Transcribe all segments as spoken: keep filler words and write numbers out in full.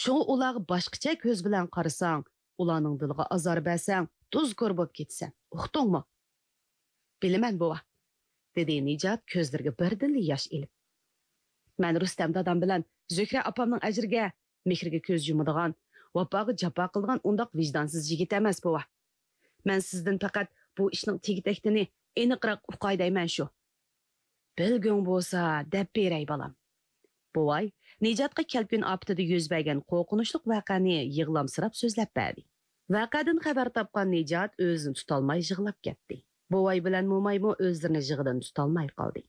شۇڭا ئۇلارغا باشقىچە كۆز بىلەن قارىساڭ، ئۇلارنىڭ دىلىغا ئازار بەرسەڭ، تۇزكور بولۇپ كېتىسەن. ئۇقتۇڭمۇ؟ بىلىمەن، بوۋا، دېدى نىجات كۆزلىرىگە بىردىنلا ياش ئېلىپ. مەن رۇستەم دادام بىلەن زۆھرە ئاپامنىڭ ئەجرىگە، مېھرىگە كۆز يۇمىدىغان، ۋاپاغا جاپا قىلىدىغان ئۇنداق ۋىجدانسىز يىگىت ئەمەس، بوۋا. مەن سىزدىن پەقەت بۇ ئىشنىڭ تېگى-تەكتىنى ئېنىقراق ئۇقاي دەيمەن شۇ. بىلگۈڭ بولسا دەپ بېرەي، بالام. بوۋاي نىجاتقا كەلكۈن ئاپىتىدە يۈز بەرگەن قورقۇنچلۇق ۋەقەنى يىغلامسىراپ سۆزلەپ بەردى. ۋەقەدىن خەۋەر تاپقان نىجات ئۆزىنى تۇتالماي يىغلاپ كەتتى. بوۋاي بىلەن مومايمۇ ئۆزلىرىنى يىغىدىن تۇتالماي قالدى.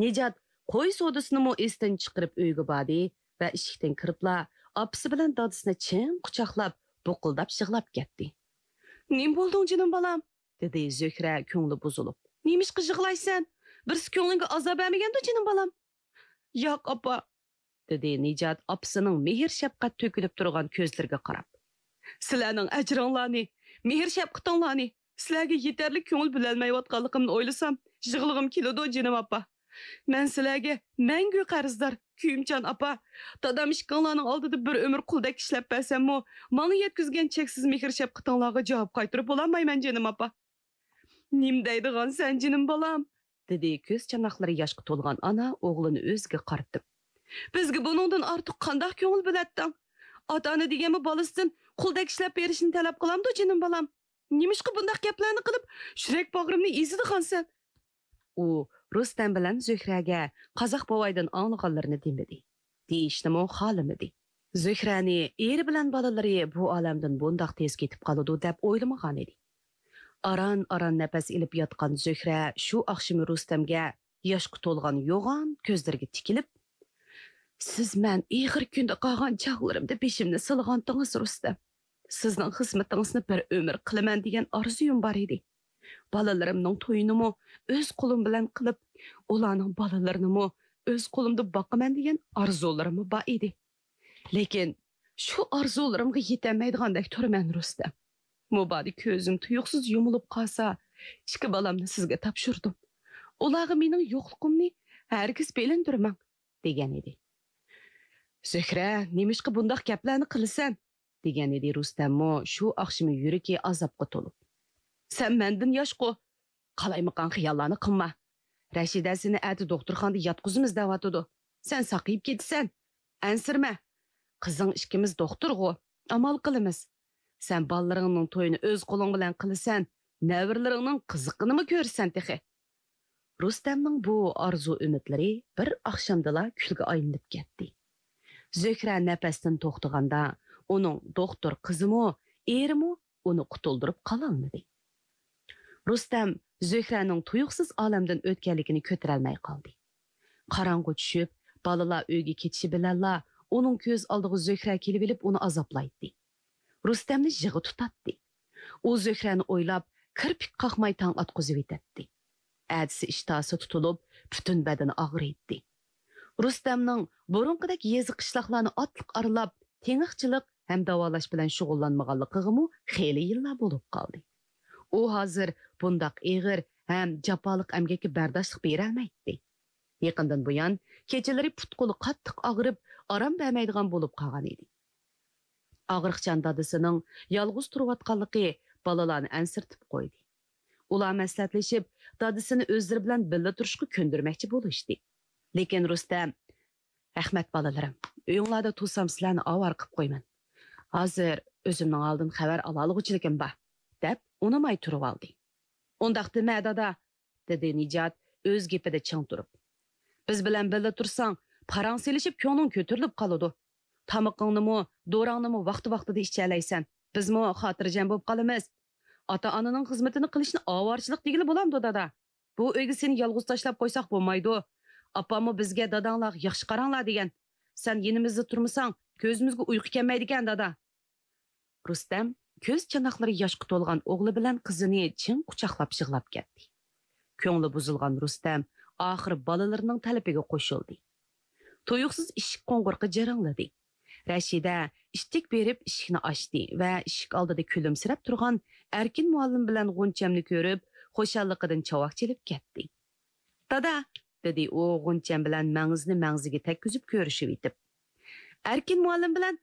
نىجات قوي سودىسىنىمۇ ئېسىدىن چىقىرىپ ئۆيگە باردى ۋە ئىشىكتىن كىرىپلا ئاپىسى بىلەن دادىسىنى چىڭ قۇچاقلاپ، بۇقۇلداپ يىغلاپ كەتتى. نېمە بولدۇڭ، جېنىم بالام؟ دېدى زۆھرە كۆڭلى بۇزۇلۇپ. نېمىشقا يىغلايسەن؟ بىرسى كۆڭلۈڭگە ئازار بەرمىگەندۇ، جېنىم بالام؟ ياق، ئاپا، دېدى نىجات ئاپىسىنىڭ مېھىر-شەپقەت تۆكۈلۈپ تۇرغان كۆزلىرىگە قاراپ. سىلەرنىڭ ئەجرىڭلارنى، مېھىر-شەپقىتىڭلارنى، سىلەرگە يېتەرلىك كۆڭۈل بۆلەلمەيۋاتقانلىقىمنى ئويلىسام، يىغلىغۇم كېلىدۇ، جېنىم ئاپا. مەن سىلەرگە مەڭگۈ قەرزدار، كۆيۈمچان ئاپا. دادام ئىككىڭلارنىڭ ئالدىدا بىر ئۆمۈر قۇلدەك ئىشلەپ بەرسەممۇ، ماڭا يەتكۈزگەن چەكسىز مېھىر-شەپقىتىڭلارغا جاۋاب قايتۇرۇپ بولالمايمەن، جېنىم ئاپا. نېمە دەيدىغانسەن، جېنىم بالام؟ دېدى كۆز چاناقلىرى ياشقا تولغان ئانا ئوغلىنى ئۆزىگە قارىتىپ. بىزگە بۇنىڭدىن ئارتۇق قانداق كۆڭۈل بۆلەتتىڭ؟ ئاتا-ئانا دېگەنمۇ بالىسىدىن قۇلدەك ئىشلەپ بېرىشنى تەلەپ قىلامدۇ، جېنىم بالام؟ نېمىشقا بۇنداق گەپلەرنى قىلىپ، يۈرەك باغرىمنى ئېزىدىغانسەن؟ ئۇ رۇستەم بىلەن زۆھرەگە قازاق بوۋايدىن ئاڭلىغانلىرىنى دېمىدى. دېيىشنىمۇ خالىمىدى. زۆھرەنى ئېرى بىلەن بالىلىرى بۇ ئالەمدىن بۇنداق تېز كېتىپ قالىدۇ دەپ ئويلىمىغانىدى. ئاران-ئاران نەپەس ئېلىپ ياتقان زۆھرە شۇ ئاخشىمى رۇستەمگە ياشقا تولغان يوغان كۆزلىرىگە تىكىلىپ، سىز مەن ئېغىر كۈندە قالغان چاغلىرىمدا بېشىمنى سىلىغانتىڭىز، رۇستەم. سىزنىڭ خىزمىتىڭىزنى بىر ئۆمۈر قىلىمەن دېگەن ئارزۇيۇم بار ئىدى. بالىلىرىمنىڭ تويىنىمۇ ئۆز قولۇم بىلەن قىلىپ، ئۇلارنىڭ بالىلىرىنىمۇ ئۆز قولۇمدا باقىمەن دېگەن ئارزۇلىرىممۇ بار ئىدى. لېكىن شۇ ئارزۇلىرىمغا يېتەلمەيدىغاندەك تۇرىمەن، رۇستەم. مۇبادا كۆزۈم تۇيۇقسىز يۇمۇلۇپ قالسا، ئىككى بالامنى سىزگە تاپشۇردۇم. ئۇلارغا مېنىڭ يوقلۇقۇمنى ھەرگىز بىلىندۈرمەڭ، دېگەن ئىدى. زۆھرە، نېمىشقا بۇنداق گەپلەرنى قىلىسەن؟ دېگەن ئىدى رۇستەممۇ شۇ ئاخشىمى يۈرىكى ئازابقا تولۇپ. سەن مەندىن ياشقۇ، قالايمىقان خىياللارنى قىلما. رەشىدە سېنى ئەتە دوختۇرخانىدا ياتقۇزىمىز دەۋاتىدۇ. سەن ساقىيىپ كېتىسەن. ئەنسىرىمە. قىزىڭ ئىككىمىز دوختۇرغۇ. ئامال قىلىمىز. سەن بالىلىرىڭنىڭ تويىنى ئۆز قولۇڭ بىلەن قىلىسەن، نەۋرىلىرىڭنىڭ قىزىقىنىمۇ كۆرىسەن تېخى. رۇستەمنىڭ بۇ ئارزۇ-ئۈمىدلىرى بىر ئاخشامدىلا كۈلگە ئايلىنىپ كەتتى. زۆھرە نەپەستىن توختىغاندا، ئۇنىڭ دوختۇر قىزىمۇ، ئېرىمۇ ئۇنى قۇتۇلدۇرۇپ قالالمىدى. رۇستەم زۆھرەنىڭ تۇيۇقسىز ئالەمدىن ئۆتكەنلىكىنى كۆتۈرەلمەي قالدى. قاراڭغۇ چۈشۈپ، بالىلار ئۆيگە كېتىشى بىلەنلا ئۇنىڭ كۆز ئالدىغا زۆھرە كېلىۋېلىپ ئۇنى ئازابلايتتى. رۇستەمنى يىغا تۇتاتتى. ئۇ زۆھرەنى ئويلاپ، كىرپىك قاقماي تاڭ ئاتقۇزۇۋېتەتتى. ئەتىسى ئىشتىھاسى تۇتۇلۇپ، پۈتۈن بەدىنى ئاغرىيتتى. رۇستەمنىڭ بۇرۇنقىدەك يېزا-قىشلاقلارنى ئاتلىق ئارىلاپ، تېڭىقچىلىق ھەم داۋالاش بىلەن شۇغۇللانمىغانلىقىغىمۇ خېلى يىللار بولۇپ قالدى. ئۇ ھازىر بۇنداق ئېغىر ھەم جاپالىق ئەمگەككە بەرداشلىق بېرەلمەيتتى. يېقىندىن بۇيان كېچىلىرى پۇت-قولى قاتتىق ئاغرىپ، ئارام بەرمەيدىغان بولۇپ قالغان ئىدى. ئاغرىقچان دادىسىنىڭ يالغۇز تۇرۇۋاتقانلىقى بالىلارنى ئەنسىرىتىپ قويدى. ئۇلار مەسلىھەتلىشىپ، دادىسىنى ئۆزلىرى بىلەن بىللە تۇرۇشقا كۆندۈرمەكچى بولۇشتى. لېكىن رۇستەم، رەھمەت بالىلىرىم، ئۆيۈڭلاردا تۇرسام سىلەرنى ئاۋارە قىلىپ قويىمەن. ھازىر ئۆزۈمنىڭ ھالىدىن خەۋەر ئالالىغۇچىلىكىم بار، دەپ ئۇنىماي تۇرۇۋالدى. ئۇنداق دېمە، دادا، دېدى نىجات ئۆز گېپىدە چىڭ تۇرۇپ. بىز بىلەن بىللە تۇرساڭ، پاراڭ سېلىشىپ كۆڭلۈڭ كۆتۈرۈلۈپ قالىدۇ. تامىقىڭنىمۇ، دوراڭنىمۇ ۋاقتى-ۋاقتىدا ئىچەلەيسەن. بىزمۇ خاتىرجەم بولۇپ قالىمىز. ئاتا-ئانىنىڭ خىزمىتىنى قىلىشنى ئاۋارىچىلىق دېگىلى بولامدۇ، دادا؟ بۇ ئۆيگە سېنى يالغۇز تاشلاپ قويساق بولمايدۇ. ئاپاممۇ بىزگە داداڭلارغا ياخشى قاراڭلار دېگەن. سەن يېنىمىزدا تۇرمىساڭ، كۆزىمىزگە ئۇيقۇ كەلمەيدىكەن، دادا. رۇستەم كۆز چاناقلىرى ياشقا تولغان ئوغلى بىلەن قىزىنى چىڭ قۇچاقلاپ يىغلاپ كەتتى. كۆڭلى بۇزۇلغان رۇستەم ئاخىرى بالىلىرىنىڭ تەلىپىگە قوشۇلدى. تۇيۇقسىز ئىشىك قوڭغۇرىقى جىرىڭلىدى. رەشىدە ئىتتىك بېرىپ ئىشىكنى ئاچتى ۋە ئىشىك ئالدىدا كۈلۈمسىرەپ تۇرغان ئەركىن مۇئەللىم بىلەن غۇنچەمنى كۆرۈپ، خۇشاللىقىدىن چاۋاك چېلىپ كەتتى. دادا، دېدى ئۇ غۇنچەم بىلەن مەڭزىنى مەڭزىگە تەگكۈزۈپ كۆرۈشۈۋېتىپ. ئەركىن مۇئەللىم بىلەن